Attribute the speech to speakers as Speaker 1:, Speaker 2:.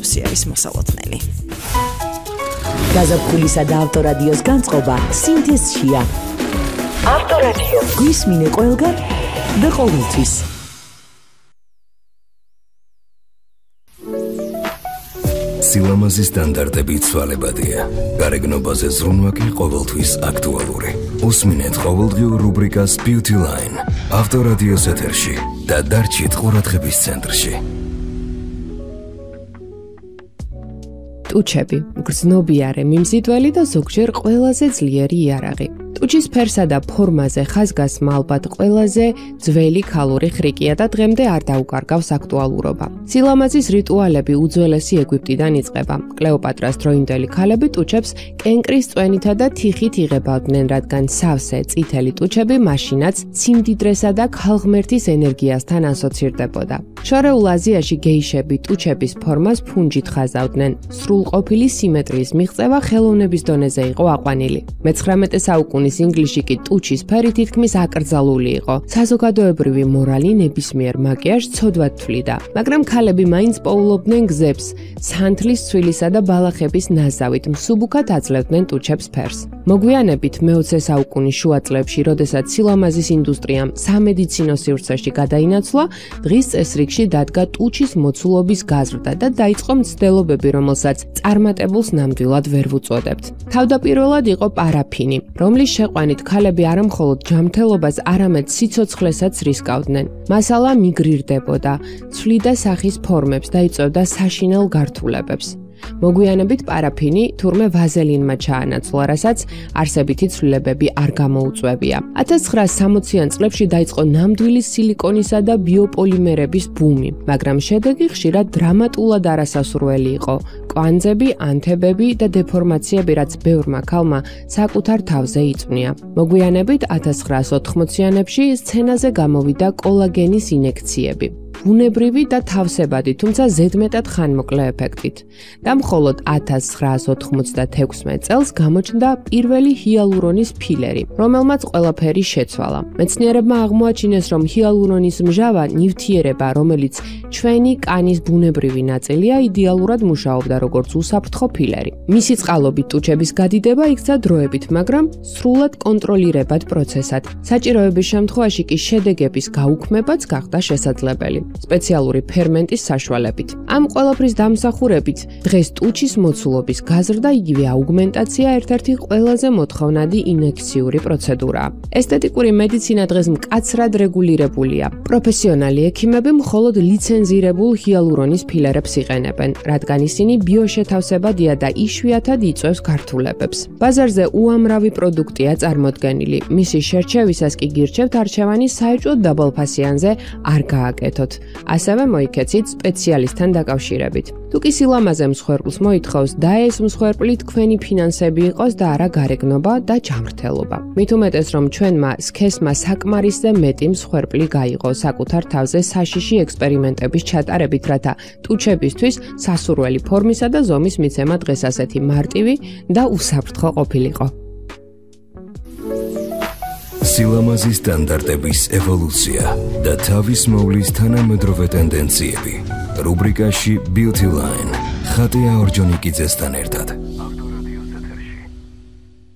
Speaker 1: ჟოსი არის მოსალოდნელი.
Speaker 2: გაზაფხულისა და ავტორადიოს განწყობა სინთეზშია. ავტორადიო გვისმინე ყველგან და ყოველთვის.
Speaker 3: სილამაზის სტანდარტები ცვალებადია. გარეგნობაზე ზრუნვა კი ყოველთვის აქტუალური. უსმინეთ ყოველდღიურ რუბრიკას Beauty Line. ავტორადიოს ეთერში და დარჩით ყურადღების ცენტრში.
Speaker 4: ტუჩები, გრძნობიარე მიმზიდველი და ზოგჯერ ყველაზე ძლიერი იარაღი. ტუჩის ფერსა და ფორმაზე ხაზგასმა ალბათ ყველაზე ძველი ქალური ხრიკია და დღემდე არ დაუკარგავს აქტუალურობა. სილამაზის რიტუალები უძველესი ეგვიპტიდან იწყება. კლეოპატრას დროინდელი ქალები ტუჩებს კენკრის წვენითა და თიხით იღებავდნენ, რადგან სავსე წითელი ტუჩები მაშინაც სიმდიდრესა და ქალღმერთის ენერგიასთან ასოცირდებოდა. შორეულ აზიაში გეიშები ტუჩების ფორმას ფუნჯით ხაზავდნენ. სრულყოფილი სიმეტრიის მიღწევა ხელოვნების დონეზე იყო აყვანილი. მე-19 საუკუნის ინგლისში კი ტუჩის ფერი თითქმის აკრძალული იყო. საზოგადოებრივი მორალი ნებისმიერ მაკიაჟს ცოდვად თვლიდა, მაგრამ ქალები მაინც პოულობდნენ გზებს, სანთლის ცვილისა და ბალახების ნაზავით მსუბუქად აძლევდნენ ტუჩებს ფერს. მოგვიანებით მე-20 საუკუნის შუა წლებში, როდესაც სილამაზის ინდუსტრიამ სამედიცინო სივრცეში გადაინაცვლა, დღის წესრიგში დადგა ტუჩის მოცულობის გაზრდა და დაიწყო მცდელობები, რომელსაც წარმატებულს ნამდვილად ვერ ვუწოდებთ. თავდაპირველად იყო პარაფინი, რომლის შეყვანით ქალები არა მხოლოდ ჯანმრთელობას, არამედ სიცოცხლესაც რისკავდნენ. მასალა მიგრირდებოდა, ცვლიდა სახის ფორმებს და იწვევდა საშინელ გართულებებს. მოგვიანებით პარაფინი თურმე ვაზელინმა ჩაანაცვლა, რასაც არსებითი ცვლილებები არ გამოუწვევია. 1960-იან წლებში დაიწყო ნამდვილი სილიკონისა და ბიოპოლიმერების ბუმი, მაგრამ შედეგი ხშირად დრამატულად არასასურველი იყო. კვანძები, ანთებები და დეფორმაციები, რაც ბევრმა ქალმა საკუთარ თავზე იწვნია. მოგვიანებით 1980-იანებში სცენაზე გამოვიდა კოლაგენის ინექციები. ბუნებრივი და თავსებადი, თუმცა ზედმეტად ხანმოკლე ეფექტით. და მხოლოდ 1996 წელს გამოჩნდა პირველი ჰიალურონის ფილერი, რომელმაც ყველაფერი შეცვალა. მეცნიერებმა აღმოაჩინეს, რომ ჰიალურონის მჟავა ნივთიერება, რომელიც ჩვენი კანის ბუნებრივი ნაწილია, იდეალურად მუშაობდა როგორც უსაფრთხო ფილერი. მისი წყალობით ტუჩების გადიდება იქცა დროებით, მაგრამ სრულად კონტროლირებად პროცესად. საჭიროების შემთხვევაში კი შედეგების გაუქმებაც გახდა შესაძლებელი. სპეციალური ფერმენტის საშუალებით. ამ ყველაფრის დამსახურებით დღეს ტუჩის მოცულობის გაზრდა, იგივე აუგმენტაცია ერთ-ერთი ყველაზე მოთხოვნადი ინექციური პროცედურაა. ესთეტიკური მედიცინა დღეს მკაცრად რეგულირებულია. პროფესიონალი ექიმები მხოლოდ ლიცენზირებულ ჰიალურონის ფილერებს იყენებენ, რადგან ისინი ბიოშეთავსებადია და იშვიათად იწვევს გართულებებს. ბაზარზე უამრავი პროდუქტია წარმოდგენილი. მისი შერჩევისას კი გირჩევთ არჩევანი საეჭვო დაბალფასიანზე არ გააკეთოთ. ასევე მოიქეცით სპეციალისტთან დაკავშირებით. თუ კი სილამაზე მსხვერპლს მოითხოვს, და ეს მსხვერპლი თქვენი ფინანსები იყოს და არა გარეგნობა და ჯანმრთელობა. მით უმეტეს, რომ ჩვენმა სქესმა საკმარისზე მეტი მსხვერპლი გაიღო საკუთარ თავზე საშიში ექსპერიმენტების ჩატარებით, რათა ტუჩებისთვის სასურველი ფორმისა და ზომის მიცემა დღეს ასეთი მარტივი და უსაფრთხო ყოფილიყო.
Speaker 3: სილამაზის სტანდარტების ევოლუცია და თავის მოვლის თანამედროვე ტენდენციები. რუბრიკაში Beauty Line. ხატია ორჯონიკიძესთან ერთად.